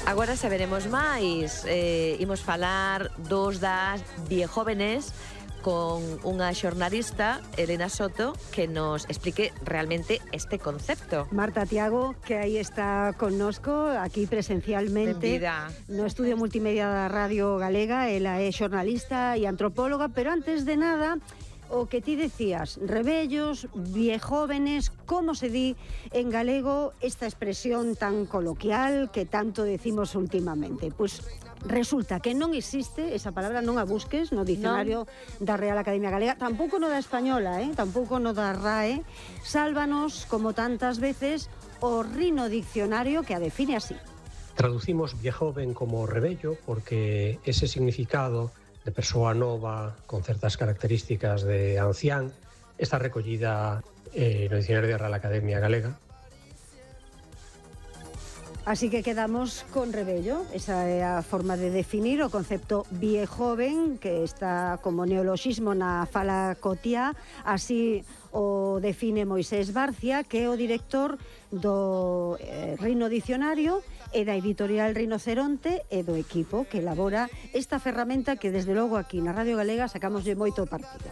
Agora saberemos máis. Imos falar dos das viejóvenes con unha xornalista, Elena Soto, que nos explique realmente este concepto. Marta Tiago, que aí está connosco, aquí presencialmente. Benvida. No estudio multimedia da Radio Galega. Ela é xornalista e antropóloga, pero antes de nada, o que ti decías, rebellos, viejóvenes, como se di en galego esta expresión tan coloquial que tanto decimos últimamente? Pois resulta que non existe, esa palabra non a busques no dicionario da Real Academia Galega, tampouco no da española, tampouco no da RAE. Sálvanos, como tantas veces, o Rino Diccionario, que a define así. Traducimos viejoven como rebello porque ese significado de persoa nova con certas características de ancián está recollida no dicionario da Real Academia Galega. Así que quedamos con rebello, esa é a forma de definir o concepto viejoven, que está como neoloxismo na fala cotiá. Así o define Moisés Barcia, que é o director do Rino Diccionario e da editorial Rinoceronte e do equipo que elabora esta ferramenta que desde logo aquí na Radio Galega sacamos de moito partido.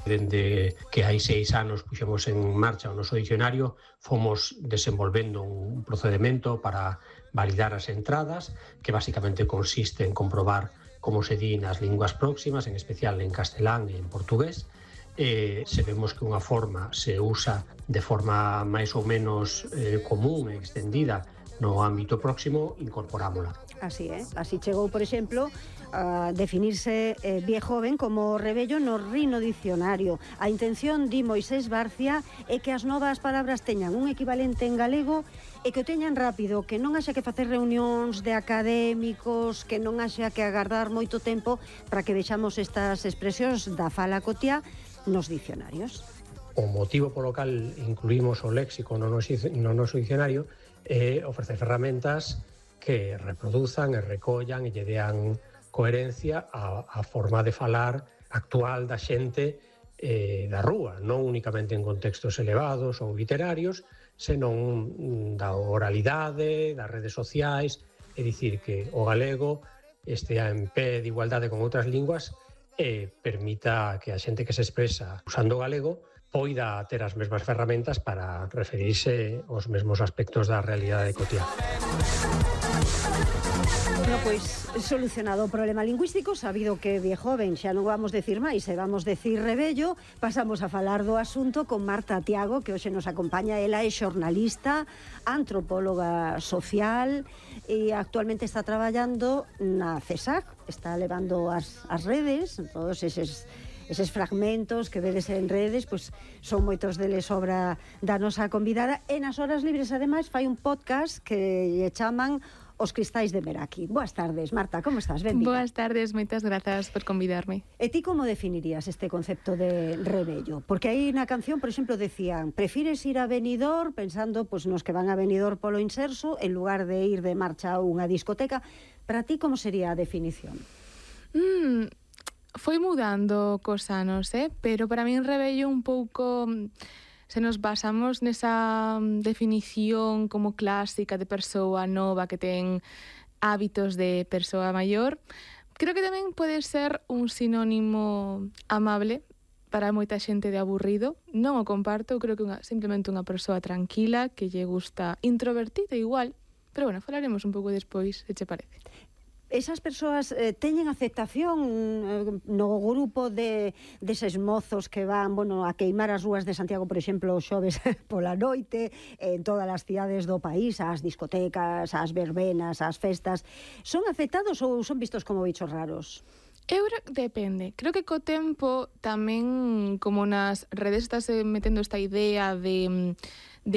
Dende que hai 6 anos puxemos en marcha o noso dicionario, fomos desenvolvendo un procedimento para validar as entradas, que basicamente consiste en comprobar como se di nas linguas próximas, en especial en castelán e en portugués. Se vemos que unha forma se usa de forma máis ou menos común e extendida no ámbito próximo, incorporámola. Así é, así chegou, por exemplo, a definirse viejoven como rebello no Rino Diccionario. A intención, di Moisés Barcia, é que as novas palabras teñan un equivalente en galego e que o teñan rápido, que non haxa que facer reunións de académicos, que non haxa que agardar moito tempo para que vexamos estas expresións da fala cotiá nos dicionarios. O motivo polo cal incluímos o léxico no noso dicionario é ofrecer ferramentas que reproduzan e recollan e lle dean coherencia á forma de falar actual da xente da rúa, non únicamente en contextos elevados ou literarios, senón da oralidade, das redes sociais, é dicir, que o galego estea en pé de igualdade con outras linguas e permita que a xente que se expresa usando o galego poida ter as mesmas ferramentas para referirse aos mesmos aspectos da realidade cotiá. No, pois, solucionado o problema lingüístico, sabido que viejoven xa non vamos decir máis, e vamos decir rebello, pasamos a falar do asunto con Marta Tiago, que hoxe nos acompaña. Ela é xornalista, antropóloga social e actualmente está traballando na CESAC, está levando as redes, todos eses fragmentos que vedes en redes, pois son moitos deles obra da nosa convidada, e nas horas libres ademais fai un podcast que lle chaman Os Cristais de Meraki. Boas tardes, Marta, como estás? Benvida. Boas tardes, moitas grazas por convidarme. E ti como definirías este concepto de rebello? Porque aí na canción, por exemplo, decían: prefires ir a Benidorm, pensando pois nos que van a Benidorm polo inserso, en lugar de ir de marcha a unha discoteca. Para ti, como sería a definición? Foi mudando cos anos, pero para min rebello un pouco, se nos basamos nesa definición como clásica de persoa nova que ten hábitos de persoa maior, creo que tamén pode ser un sinónimo amable para moita xente de aburrido. Non o comparto, creo que simplemente unha persoa tranquila que lle gusta, introvertida igual, pero bueno, falaremos un pouco despois, se che parece. Esas persoas teñen aceptación no grupo deses mozos que van, a queimar as rúas de Santiago, por exemplo, os xoves pola noite, en todas as cidades do país, ás discotecas, ás verbenas, ás festas. Son aceptados ou son vistos como bichos raros? Depende. Creo que co tempo tamén, como nas redes estás metendo esta idea de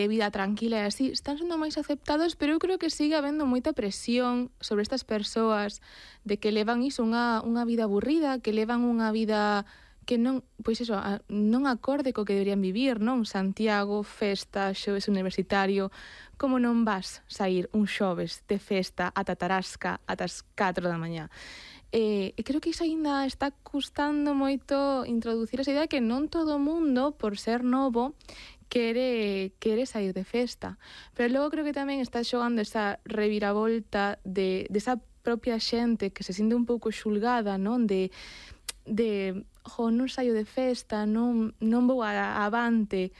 vida tranquila e así, están sendo máis aceptados, pero eu creo que sigue habendo moita presión sobre estas persoas de que levan iso, unha vida aburrida, que levan unha vida que non, pois eso, non acorde co que deberían vivir, non? Santiago, festa, xoves universitario, como non vas sair un xoves de festa ata Tarasca atas 4 da mañá? E creo que iso aínda está custando moito introducir esa idea que non todo o mundo, por ser novo, quere sair de festa. Pero logo creo que tamén está xogando esa reviravolta de esa propia xente que se sente un pouco xulgada, non? De non saio de festa, non vou avante,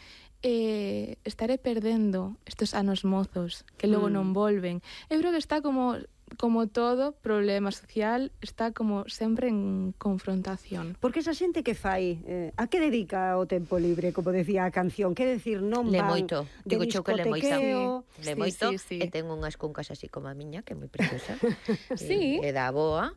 estaré perdendo estes anos mozos que logo non volven. Eu creo que está como todo problema social, está como sempre en confrontación. Porque esa xente que fai, a que dedica o tempo libre, como decía a canción, que decir, non Le van moito, digo de cho que le moito. discotequeo. Le moito, e ten unhas cuncas así como a miña, que é moi preciosa. Sí. E da boa,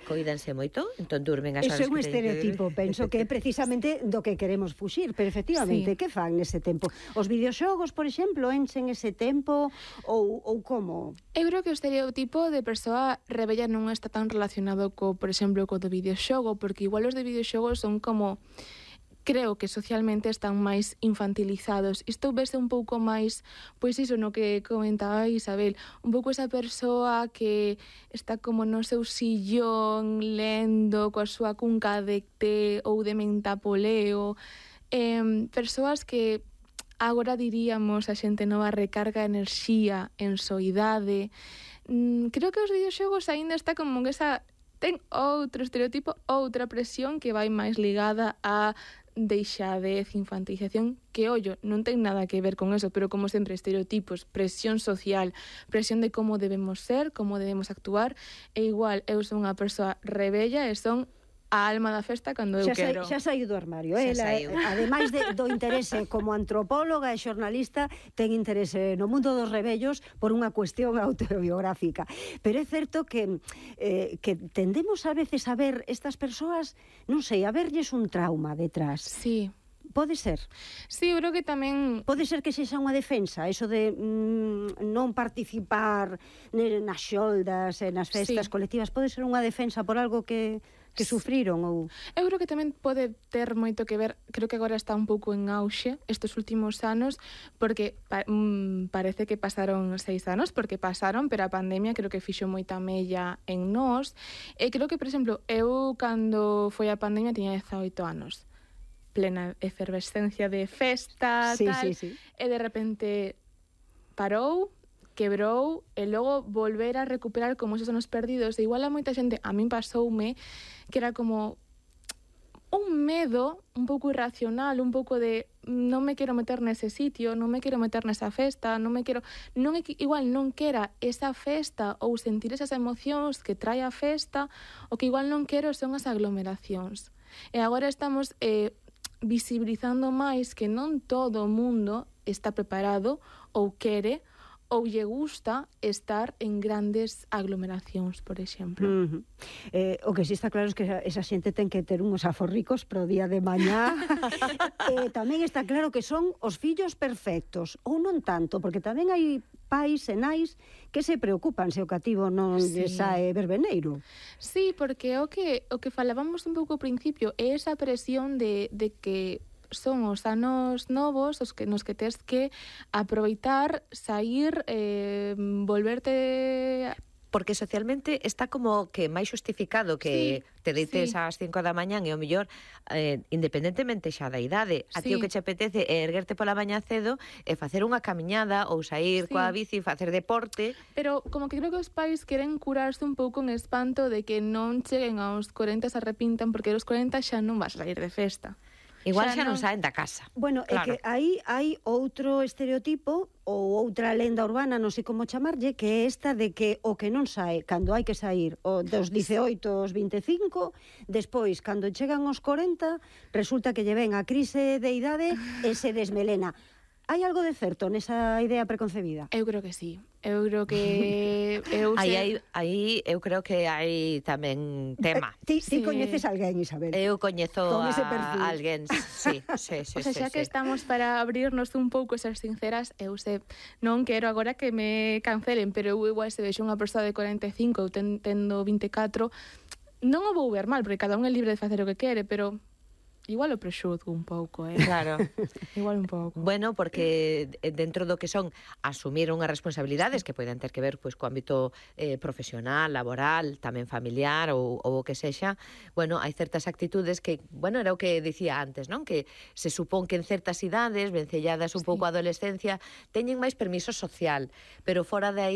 coídanse moito, entón durmen as Eso é horas un que estereotipo, penso que é precisamente do que queremos fuxir, pero efectivamente, que fan nese tempo? Os videoxogos, por exemplo, enchen ese tempo ou como? Eu creo que o estereotipo de persoa rebella non está tan relacionado por exemplo, co do videoxogo, porque igual os de videoxogos son como, creo que socialmente están máis infantilizados. Isto vese un pouco máis, pois iso no que comentaba Isabel, un pouco esa persoa que está como no seu sillón lendo coa súa cunca de té ou de mentapoleo, persoas que agora diríamos a xente nova recarga enerxía en soidade. Creo que os videoxogos aínda está como que ten outro estereotipo, outra presión que vai máis ligada a deixadez, infantilización, que, ollo, non ten nada que ver con eso, pero como sempre, estereotipos, presión social, presión de como debemos ser, como debemos actuar, e igual, eu son unha persoa rebella e son a alma da festa cando eu quero. Xa saiu do armario. Ademais do interese como antropóloga e xornalista, ten interese no mundo dos rebellos por unha cuestión autobiográfica. Pero é certo que tendemos a veces a ver estas persoas, non sei, a verlles un trauma detrás. Sí. Pode ser? Sí, eu creo que tamén... Pode ser que sexa unha defensa, eso de non participar nas xoldas e nas festas colectivas, pode ser unha defensa por algo que sufriron ou... Eu creo que tamén pode ter moito que ver, creo que agora está un pouco en auxe estes últimos anos, porque parece que pasaron 6 anos, porque pasaron, pero a pandemia creo que fixo moita mella en nós, e creo que, por exemplo, eu cando foi a pandemia tiña 18 anos, plena efervescencia de festa, tal, e de repente parou, quebrou, e logo volver a recuperar como esos anos perdidos. E igual a moita xente, a min pasoume, que era como un medo un pouco irracional, un pouco de non me quero meter nese sitio, non me quero meter nesa festa, igual non quera esa festa ou sentir esas emocións que trae a festa, o que igual non quero son as aglomeracións. E agora estamos visibilizando máis que non todo o mundo está preparado ou quere ou lle gusta estar en grandes aglomeracións, por exemplo. O que sí está claro é que esa xente ten que ter uns aforricos pro día de mañá. Tamén está claro que son os fillos perfectos, ou non tanto, porque tamén hai pais e nais que se preocupan se o cativo non lle sae verbeneiro. Sí, porque o que falábamos un pouco ao principio é esa presión de que son os anos novos nos que tes que aproveitar, sair, volverte... Porque socialmente está como que máis justificado que te deites ás 5 da mañán e o mellor, independentemente xa da idade, a ti o que che apetece é erguerte pola mañá cedo e facer unha camiñada ou sair coa bici, facer deporte. Pero como que creo que os pais queren curarse un pouco en espanto de que non cheguen aos 40 se arrepintan, porque aos 40 xa non vas a sair de festa. Igual xa non saen da casa. Bueno, claro. É que aí hai outro estereotipo ou outra lenda urbana, non sei como chamarlle, que é esta de que o que non sae cando hai que sair dos 18 aos 25, despois, cando chegan aos 40, resulta que lle ven a crise de idade e se desmelena. Hai algo de certo nesa idea preconcebida? Eu creo que sí. Eu creo que... Aí eu creo que hai tamén tema. Ti coñeces alguén, Isabel? Eu coñezo a alguén, sí. O sea, xa que estamos para abrirnos un pouco, ser sinceras, eu non quero agora que me cancelen, pero eu igual se vexo unha persoa de 45 ou tendo 24, non o vou ver mal, porque cada un é libre de facer o que quere, pero Igual o prexuzgo un pouco, Claro. Igual un pouco. Bueno, porque dentro do que son asumir unhas responsabilidades que poden ter que ver pois co ámbito profesional, laboral, tamén familiar ou o que sexa, bueno, hai certas actitudes que, bueno, era o que dicía antes, non? Que se supón que en certas idades, vencelladas un pouco a adolescencia, teñen máis permiso social, pero fora de aí